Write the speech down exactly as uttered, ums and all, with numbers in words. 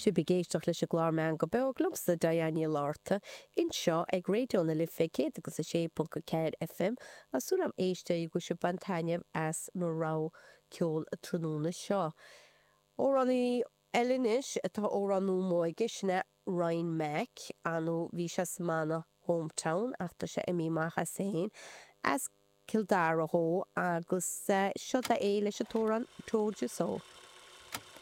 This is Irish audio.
Sibh ag éisteacht leis an gclár Meangadh Beo liomsa Diane Ní Fhlatharta anseo ag Raidió na Life céad agus a sé ponc a ceathair FM Tá súil agam a éisteoirí go bhfuil sibh ag baint taitneamh as mo rogha ceoil an tráthnóna seo. Amhránaí eile anois atá amhrán nua aige sin é Ryan Mack anú bhí sé sa mbanna Hometown ach tá sé imithe amach as féin as Cill Dara dhó agus seo é leis an t-amhrán Told You So.